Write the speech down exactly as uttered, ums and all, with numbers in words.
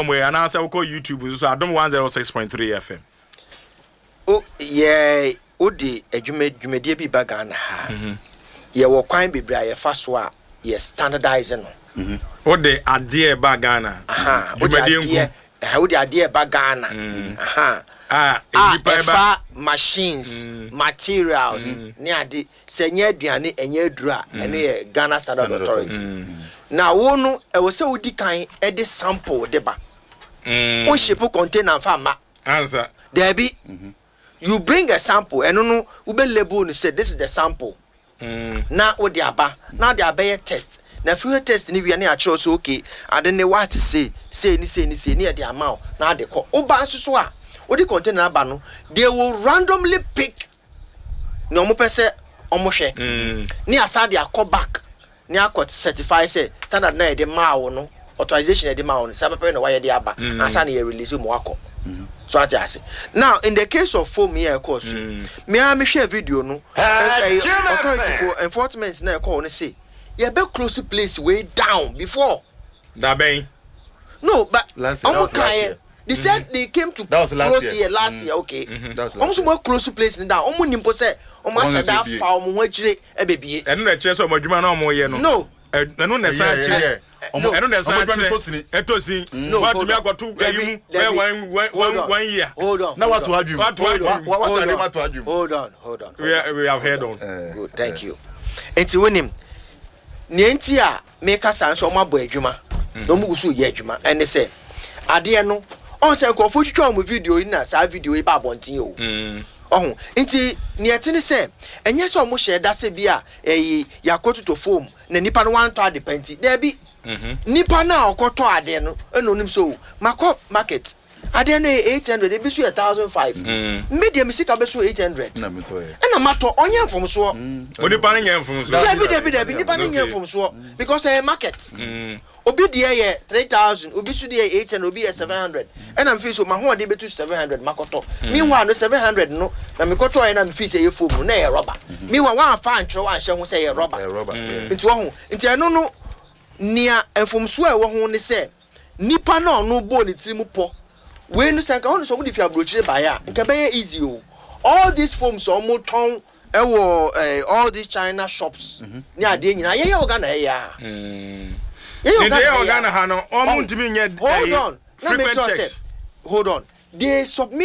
nkɔmmɔ yi anaasɛ wokɔ YouTube nso so, Adom one oh six point three F M. O yɛ wode adwuma dwumadie bi ba Ghana ha, yɛwɔ kwan bebree a yɛfa so a yɛ standardize no. Wode adeɛ ba Ghana, Aha, wode dwumadie adeɛ nko ɛha, wode adeɛ ba Ghana aha a a nnipa ɛba ɛfa machines, materials ne ade sɛ ɛnyɛ aduane, ɛnyɛ aduru a, ɛno yɛ Ghana Standard Standard Authority. Na wo no, ɛwɔ sɛ wodi kan ɛde sample de ba. Mm. Wo ship container nfa ma ansa. Daabi, you bring a sample. Ɛno no, wobɛ label no sɛ this is the sample Mm. na wode aba na wode abɛyɛ test. Na afei test ne wia ne akyerɛw sɛ okay, ade ne waate sei sei ne sei ne sei ne yɛde ama wo na ade kɔ. Woba nso so a, wode container aba no, they will randomly pick nea ɔmo pɛ sɛ ɔmo hwɛ Mm. ne asa de akɔ back ne akɔ certify sɛ standard na yɛde maa wo no, authorization yɛde maa wo no, saa pɛpɛ na wayɛ de aba ansa na yɛ release mu akɔ so. Ate ase? Now, in the case of foam yɛ ɛkɔɔ so, mea mehwɛ video no, ɛ- ɛyɛ authority for enforcement na ɛkɔɔ no say yɛbɛ close place way down before. Dabɛn? No, but Last year, that ɔmo was last kan yɛ year. They said they came to That was last close year. here last year, okay. That was Ɔmo last nso mo close place ni down, ɔmo nim po sɛ ɔmo Ɔmo ahyɛ nso da bie. fa ɔmo ho akyire ɛbɛbie. Ɛno na ɛkyerɛ sɛ ɔmo adwuma na ɔmo yɛ no. No. Ɛ- ɛno na ɛsan Yeah, kyerɛ yeah, yeah. no, ɛno na Ɔmo ɛsan adwuma no kyerɛ tɔ sini. Ɛtɔ sin. No, watumi hold on. akɔto ɛyi mu Dabi, bɛyɛ one one hold one on. one year. Hold on. Na Hold wato on. adwuma. Wato adwuma. Wa- wa- wato Hold adwuma, on. wato adwuma. Hold on, hold on. we are- we have heard on. Eh, Good, thank you. Nti wonim nea nti a meka saa nso, ɔmo abɔ adwuma na ɔmo gu so yɛ adwuma. Ɛne sɛ adeɛ no, ɔn sɛ nkurɔfoɔ twitwa ɔmo video yi na saa video yi ba abɔnten o. Mm. Ɔho nti nea ɛte ne sɛ ɛnyɛ sɛ ɔmo hyɛ da sɛ bi a ɛyi yakɔtotɔ foam na nipa no wantɔ ade pa. Nti daabi, nipa no a ɔkɔtɔ adeɛ no ɛna onim sɛ o makɔ market, adeɛ no yɛ eight hundred, ebi so yɛ thousand five. Mm. Mbe deɛ mi sika bɛ so eight hundred Na metɔ yɛ. ɛna matɔ, ɔnyɛ mfomsoɔ. Onipa no nyɛ mfomso. Dabi, dabi, dabi, nipa no nyɛ Okay. mfomsoɔ because ɛyɛ market. Mm. Obi deɛ yɛ three thousand, obi so deɛ yɛ eight hundred, obi yɛ seven hundred. Ɛna mfi so ma hoɔden bɛtu seven hundred makɔtɔ. Meanwhile no, seven hundred no na mekɔtɔ yɛ na mfi sɛ ɛyɛ foam no na ɛyɛ rubber. Meanwhile wɔamfa antwerɛ, wɔanhyɛ ho sɛ ɛyɛ rubber. Ɛyɛ rubber. Yeah. Nti wɔho nti ɛno no, nea mfomsoɔ a ɛwɔ ho ne sɛ nipa na ɔno bɔɔ ne tiri mu pɔ wei no, sɛ nka wɔn sɛ wɔn de fi aburokyire baeɛ a, nka bɛyɛ easy o. All these foams a wɔn tɔn ɛwɔ ɛɛ all these China shops ne adeɛ nyinaa, yɛyɛ wɔ Ghana, ɛyɛ a Mm. yɛyɛ wɔ Nti ɛyɛ wɔ ɛyɛ a. Ghana ha no, ɔmo ntumi nyɛ Hold ɛyi on, na make frequent sure checks. say, hold on, they submit.